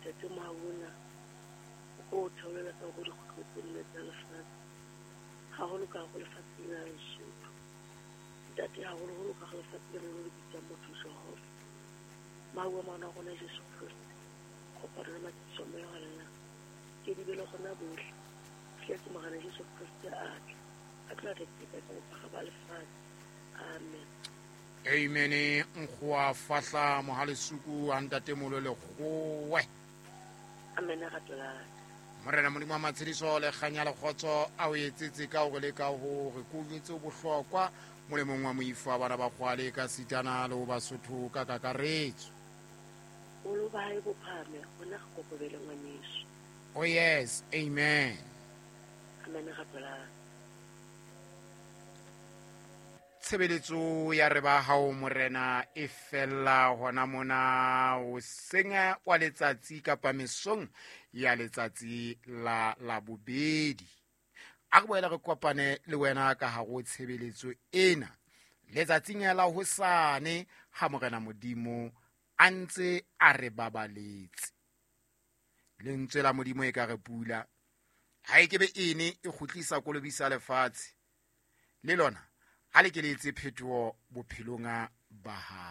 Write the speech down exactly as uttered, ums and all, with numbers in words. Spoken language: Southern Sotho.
Ntate Mauna o theolela ka go dikgutlo tse nne tsa lefatshe, haholo ka go lefatshe lena la Lesotho. Ntate, haholoholo ka go lefatshe lena le le bitsang motho Jehova. Mau a ngwana wa rona Jesu Kreste, kopano le matsiso a moya wa lena, ke di be le gona bohle. Fihletse Morena Jesu Kreste a tla, a tlo re teka ka bophara ba lefatshe. Amen. Amen. Nkgoa fahla mohalesuku a ntatemolo lekgowe. Amen, rato la ka. Morena Modimo wa matshediso le kganya le kgotso a o etsetse ka hore le ka hore ko jwetse bohlokwa molemong wa moifo wa bana ba kgwale ka sitana le ho Basotho ka kakaretso. Bolo ba hae bo phahame, rona re kokobele ngwaneso. Oh yes, amen. Amen, rato la ka. Tshebeletso ya re ba hao Morena e fella hona mona hoseng wa letsatsi kapa mesong ya letsatsi la Labobedi. A re boele re kopane le wena ka hare ho tshebeletso ena letsatsing la hosane ha Morena Modimo a ntse a re babaletse. Lentswe la Modimo e ka re pula ha e kebe ene e kgutlisa kolobisa lefatshe le lona ha le ke le etse phetoho bophelong ba hao.